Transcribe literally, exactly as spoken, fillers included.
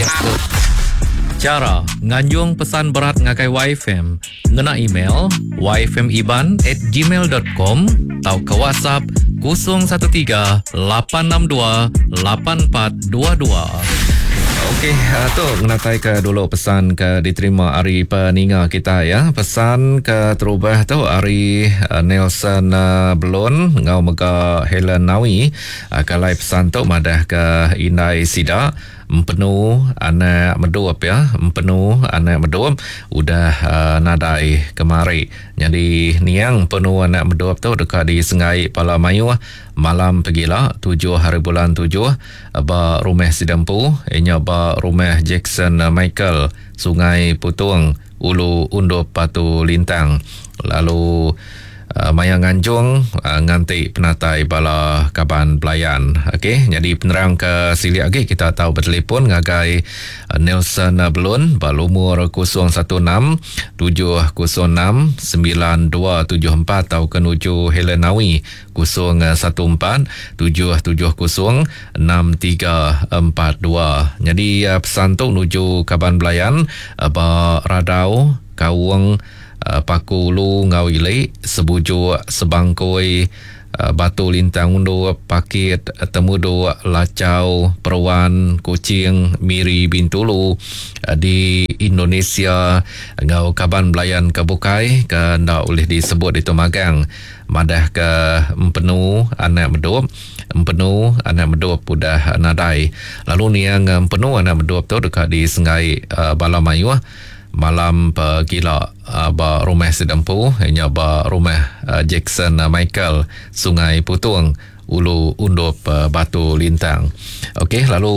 Bilik tu. Chara nganjung pesan berat ngagai Y F M ngena email yfmiban at gmail dot com tauka WhatsApp kosong satu tiga lapan enam dua lapan empat dua dua. Okey, uh, tu ngenatai ke dulu pesan ke diterima ari peninga kita ya. Pesan ke terubah tu ari uh, Nelson uh, Belon ngau mega Helen Nawi. Uh, kalai pesan tu madah ke indai sida Empenu anak Medup ya, Empenu anak Medup udah uh, nadai kemari. Jadi niang Empenu anak Medup tu deka disengai pala mayuh malam pegila tujuh hari bulan tujuh ba rumah Sidempu inya ba rumah Jackson Michael, Sungai Putung, Ulu Undup, Batu Lintang. Lalu uh, maya nganjung uh, nganti penatai bala kaban pelayan. Okey, jadi penerang ke silik lagi kita tahu bertelefon ngagai uh, Nelson Belun ba lumur kosong satu enam tujuh kosong enam sembilan dua tujuh empat atau ke nuju Helen Nawi kosong satu empat tujuh tujuh kosong enam tiga empat dua. Jadi uh, pesan tu nuju kaban belayan uh, ba Radau, Kaung, uh, Paku Ulu ngau Ili, Sebujuk, Sebangkoi, uh, Batu Lintang Undup, Pakit, Temuduk, Lacau, Peruan, Kuching, Miri, Bintulu uh, di Indonesia ngau kaban belayan ke bukai ke ndak boleh disebut itu magang. Madah ke Empenu anak Medup, Empenu anak Medup udah nadai. Lalu niang Empenu anak Medup tu dekat di Sengai uh, bala mayuh malam pegila uh, ba rumah Sidempu inya ba rumah uh, Jackson uh, Michael, Sungai Putung, Ulu Undup, uh, Batu Lintang. Okey, lalu